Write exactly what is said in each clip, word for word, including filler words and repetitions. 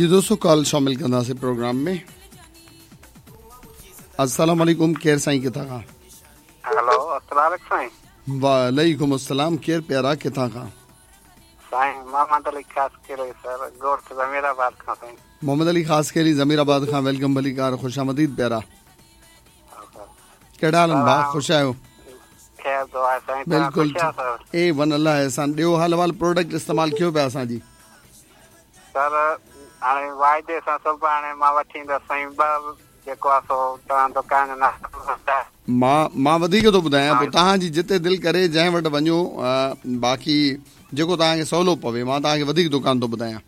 जी दोस्तों, कॉल शामिल कंदासीं प्रोग्राम में। अस्सलाम वालेकुम, केर साईं किथां खां? हेलो, अस्सलाम वालेकुम साईं। वालेकुम अस्सलाम, केर प्यारा किथां खां? साईं मोहम्मद अली खासकेली सर, गोठ ज़मीराबाद खां साईं। मोहम्मद अली खासकेली ज़मीराबाद खां, welcome भलीकार, खुशामदीद प्यारा। कहिड़ा हाल आहिनि भाउ, ख़ुशि आहियो? ख़ैर दुआ साईं, बिल्कुल ए वन, अल्लाह एहसान। ॾियो हाल अहिवाल, प्रोडक्ट इस्तेमाल कयो पिया असांजी? सर हाणे वाइदे सां सुभाणे मां वठी ईंदसि साईं, ॿ जेको आहे सो तव्हां दुकान जो नालो। मां मां वधीक थो ॿुधायां, पोइ तव्हांजी जिते दिलि करे जंहिं वटि वञो, बाक़ी जेको तव्हांखे सवलो पवे। मां तव्हांखे वधीक दुकान थो ॿुधायां।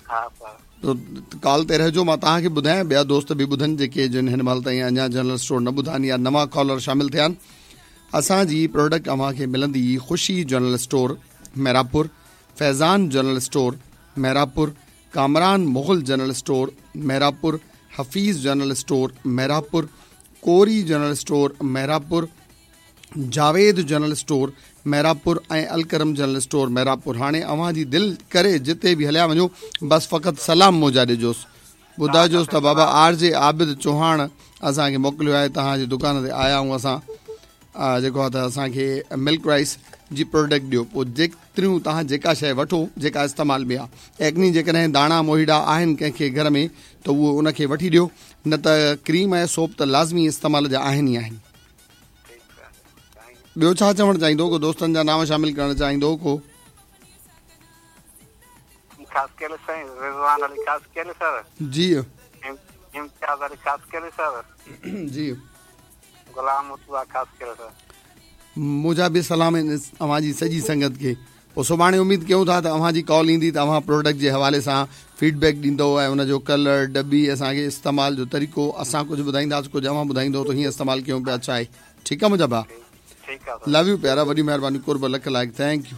हा सर, त कॉल ते रहिजो, मां तव्हांखे ॿुधायां, ॿिया दोस्त बि ॿुधनि जेके जिन हिन महिल ताईं अञा जनरल स्टोर न ॿुधा आहिनि या नवां कॉलर शामिल थिया आहिनि। असांजी प्रोडक्ट अव्हांखे मिलंदी Khushi general store Mehrabpur, Faizan general store Mehrabpur, Kamran Mughal general store Mehrabpur, Hafeez general store Mehrabpur, Kori general store Mehrabpur, Javed general store Mehrabpur ऐं अलकरम जनरल स्टोर मेहराबपुर। हाणे अव्हांजी दिलि करे जिते बि हलिया वञो, बसि फ़क़ति सलाम मुंहिंजा ॾिजोसि, ॿुधाइजोसि त बाबा आर जे आबिद चौहान असांखे मोकिलियो आहे, तव्हांजी दुकान ते आया आहियूं असां, जेको आहे त असांखे मिल्क राइस जी प्रोडक्ट ॾियो। पोइ जेतिरियूं तव्हां जेका शइ वठो जेका इस्तेमाल में आहे, एक्नी जेकॾहिं दाणा मोहिड़ा आहिनि कंहिंखे घर में त उहो उनखे वठी ॾियो, न त क्रीम ऐं सोप त लाज़मी इस्तेमाल जा आहिनि ई आहिनि। ॿियो छा चवणु चाहींदो? को दोस्तनि जा नाम शामिल करणु चाहींदो को? खासकेली साईं, रिज़वान अली खासकेली सर। जी। इम्तियाज़ अली खासकेली सर। जी। गुलाम मुर्तज़ा खासकेली सर। मुंहिंजा बि सलाम आहिनि अव्हांजी सॼी संगत खे। पोइ सुभाणे उमेद कयूं था त अव्हांजी कॉल ईंदी त अव्हां प्रोडक्ट जे हवाले सां फीडबैक ॾींदव ऐं हुनजो कलर, डॿी, असांखे इस्तेमाल जो तरीक़ो असां कुझु ॿुधाईंदासीं, कुझु अव्हां ॿुधाईंदो त हीअं इस्तेमालु कयूं पिया, छा आहे? ठीकु आहे मुंहिंजा भाउ, लव you प्यारा, वॾी महिरबानी, कुर्ब, लख लाइक़, thank you.